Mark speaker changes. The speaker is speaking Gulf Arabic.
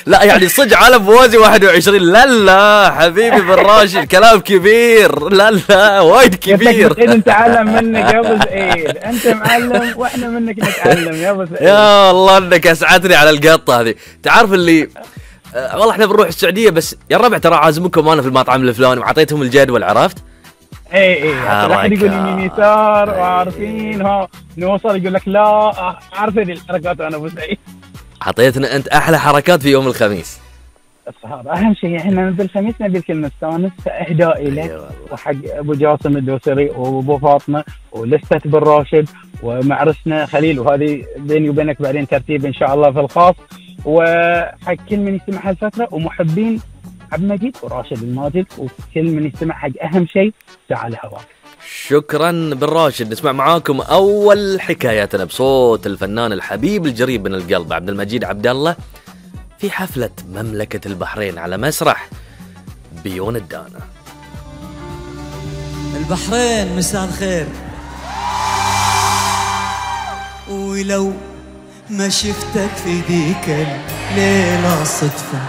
Speaker 1: لا يعني صدق عالم موازي 21. لا لا حبيبي بن راشد كلام كبير. لا لا وايد كبير.
Speaker 2: إذا نتعلم منك يا ابو سعيد، انت معلم واحنا منك نتعلم يا ابو سعيد.
Speaker 1: يا الله انك اسعدني على القطه هذه. تعرف اللي والله احنا بنروح السعوديه بس يا الربع ترى عازمكم انا في المطعم الفلاني وعطيتهم الجدول عرفت.
Speaker 2: اي لا يقول يمين يسار وعارفين ها نوصل يقول لك لا عارف هذه الحركات. انا ابو سعيد
Speaker 1: عطيتنا انت احلى حركات في يوم الخميس.
Speaker 2: هذا اهم شيء. احنا بالخميس نبي الكل نستانس، فاهدائي لك وحق ابو جاسم الدوسري وابو فاطمه ولسته بن راشد ومعرسنا خليل، وهذه بيني وبينك بعدين ترتيب ان شاء الله في الخاص، وحق كل من يستمع هالفتره ومحبين عبد المجيد وراشد الماجد وكل من يستمع حق اهم شيء تعال هواك.
Speaker 1: شكرا بن راشد. نسمع معاكم اول حكاياتنا بصوت الفنان الحبيب الجريب من القلب عبد المجيد عبد الله في حفلة مملكة البحرين على مسرح بيون الدانا.
Speaker 3: البحرين مساء الخير، ولو ما شفتك في ذيك الليلة صدفة